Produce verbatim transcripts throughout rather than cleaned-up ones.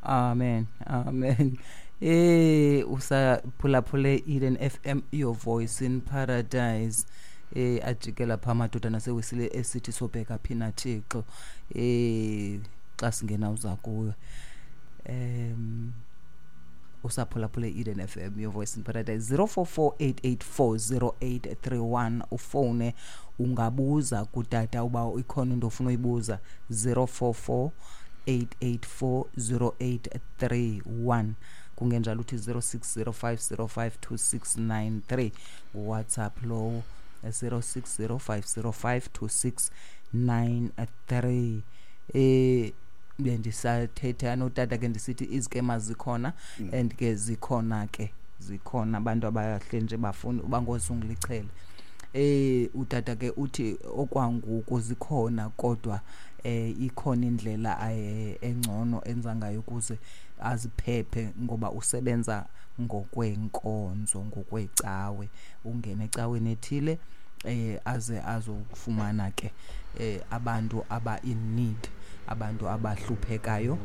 Amen. Amen. Eh usaphulaphule Eden F M, your voice in paradise. Eh ajikela pha amadoda nasewisile esithi sobheka phi na Thixo. Eh xa singena uza kuwe. Em usaphulaphule Eden F M, your voice in paradise. Zero four four eight eight four zero eight three one ufone ungabuza kutata uba ikhona into ofuna uyibuza. Zero four four eight eight four zero eight three one kungenjalo uthi zero six zero five zero five two six nine three WhatsApp lowo zero six zero five zero five two six nine three. Eh bendisathetha notata ke ndisithi izikema zikhona Mm. and ke zikhona ke zikhona abantu abahle nje bafuna bangozungilichele. Eh utata ke uthi okwangoku zikhona kodwa eh ikhona indlela, eh, engcono enza ngayo ukuze aziphephe ngoba usebenza ngokwenkonzo ngokwecawe, ungene ecaweni ethile eh aze azokufumana ke, eh, abantu aba in need, abantu abahluphekayo.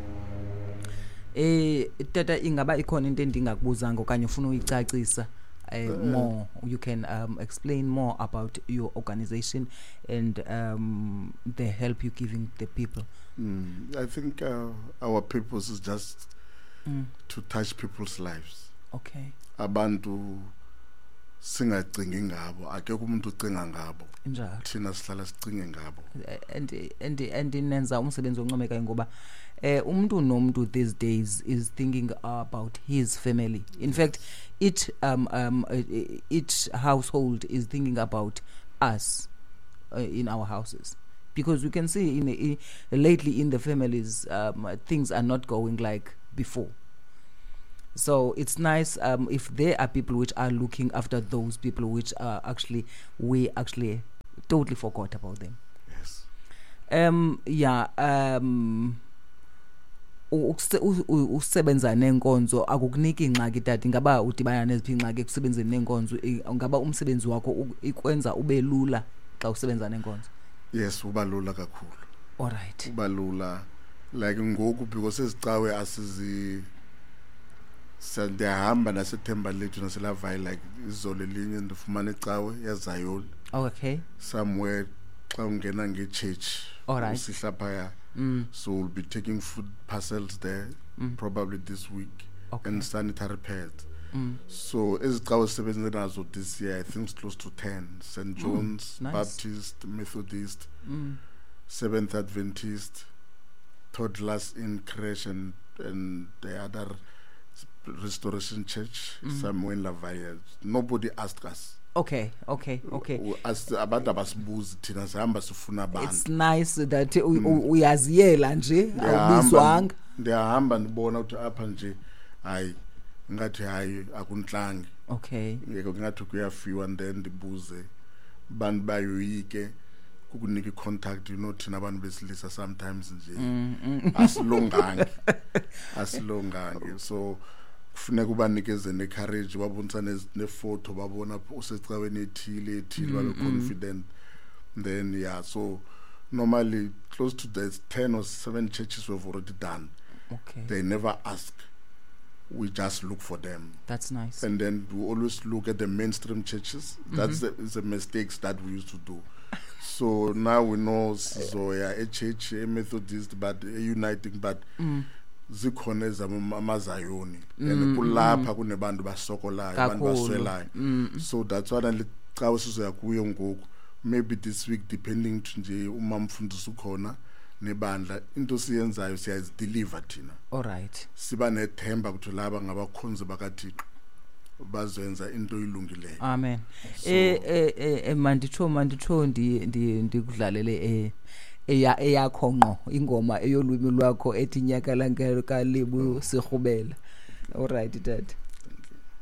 Eh tata, ingaba ikhona into endingakubuzanga okanye ufuna uyicacisa? Eh, Uh, more you can, um, explain more about your organization and, um, the help you're giving the people. Mm, I think, uh, our purpose is just Mm. to touch people's lives. Okay. Abantu singacingi ngabo, akekho umuntu ocinga ngabo. Njalo. Thina sihlala sicinge ngabo. And, and, and nenza umsebenzi oncomekayo ngoba, eh, umuntu nomuntu these days is thinking about his family. In fact, each, um, um, eh, each household is thinking about us, uh, in our houses, because we can see in, in lately in the families, um, things are not going like before. So it's nice, um, if there are people which are looking after those people which are actually, we actually totally forgot about them. Yes. Um, yeah, um, u-, ukuse-, u-, u-, usebenza nenkonzo akukuniki ingxaki tata. Ingaba udibana neziphi ingxaki ekusebenzeni nenkonzo? I-, ingaba umsebenzi wakho u-, ikwenza ube lula xa usebenza nenkonzo? Yes, uba lula kakhulu. All right. Uba lula like ngoku because ezicawe asizi sa-, ndiyahamba naseThemba Lethu naseLavayi, like izolo elinye ndifumana icawe yaZayoni. Okay. Somewhere xa ungena nge-church, All right. usihla phaya. Mm. So we'll be taking food parcels there Mm. probably this week. Okay. And sanitary pads. Mm. So ezicawe sisebenze nazo this year, I think it's close to ten. Saint Mm. John's, Nice. Baptist, Methodist, Mm. Seventh Adventist, Toddlers in Creche, and, and the other Restoration Church Mm. somewhere in Lavalle. Nobody asked us. Okay, okay, okay. U-, as abantu abasibuzi thina sihamba sifuna abantu. It's nice that u-, Mm. u-, uyaziyela nje, Ndiyahamba awubizwanga. Ndiyahamba ndibona ukuthi apha nje hayi ngathi hayi akuntlangi. Okay. Ngeke ngathi kuyafiwa, and then ndibuze bantu bayoyike kukunika i-contact, you know, thina abantu besilisa sometimes nje Mm, mm. asilungangi. Asilungangi. So kufuneka ubanikeze ne-courage, babonisa ne-, nefoto, babona usecaweni ethile, ethile, Mm, babe mm. confident. Then yeah, so normally close to the ten or seven churches we've already done. Okay. They never ask. We just look for them. That's nice. And then we always look at the mainstream churches. That's Mm-hmm. the, the mistakes that we used to do. So now we know Zoya, a church, a Methodist, but a uniting, but Mm. zikhona ezama amaZayoni. Mm, And kulapha mm. kunebantu basokolayo, abantu Kakhulu. baswelayo. Mm. So that's why le cawe sizoya kuyo ngoku. Maybe this week, depending to nje uma mfundisi ukhona nebandla, into siyenzayo siyazideliver thina. All right. Siba nethemba ukuthi laba ngabakhonzi bakaThixo bazenza into ilungileyo. Amen. So, Eh, eh, eh, eh, manditsho, manditsho ndi, ndi, ndikudlalele, eh, eya, eyakho ngqo ingoma eyolwimi lwakho ethi nyaka lanke kalibu sirhubela. All right, Dad.